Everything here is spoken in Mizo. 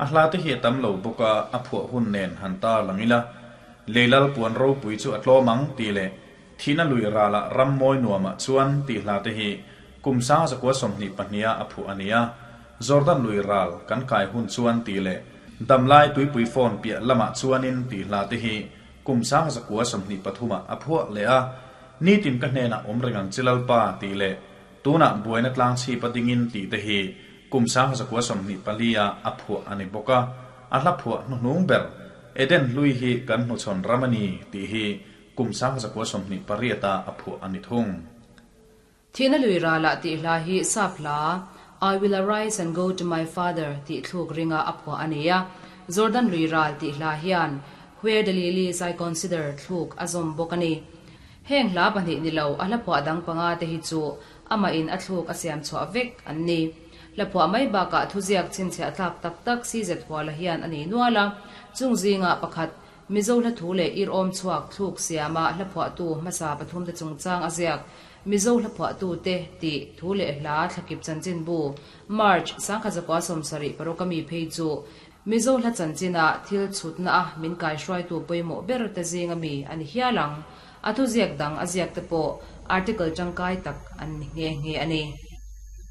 A hla te hi a tam lo bawk a, a phuah hun nen han tar lang ila, Lei lal puan ropui chu a tlawm ang tih leh Thihna lui ralah ram mawi nuamah chuan tih hla te hi kum 1922 a a phuah a ni a. Jordan lui ral kan kai hun chuan tih leh Damlai tuipui phone piah lamah chuanin tih hla te hi kum 1923 ah a phuah leh a. Nitin ka hnenah awm reng ang che Lalpa tih leh Tunah buaina tlang chhip a dingin tih te hi kum 1924 ah a phuah a ni bawk a, a hla phuah hnuhnung ber Eden hlui hi kan hnuchhawn ram a ni tih hi kum 1928 ah a phuah a ni thung. Thihna lui ralah tih hla hi sap hla I will arise and go to my father tih thluk ringa a phuah a ni a, Jordan lui ral tih hla hian Where the lilies I consider thluk a zawm bawk a ni. Heng hla pahnih ni lo, a hlaphuah dang panga te hi chu amah in a thluk a siam chhuah vek an ni. Hlaphuah mai bakah thuziak chhinchhiah tlak tak tak CZ Huala hian a nei nual a, chung zingah pakhat, Mizo hla thu leh ir awm chhuak thluk siama hlaphuahtu hmasa pathum te chungchang a ziak Mizo hlaphuahtu te tih thu leh hla thlakip chanchinbu March 1976 a mi phei chu Mizo hla chanchina thil chhutna a min kaihruaitu pawimawh ber te zinga mi a ni hial ang. A thuziak dang a ziak te pawh article tangkai tak an ni nghe nghe a ni.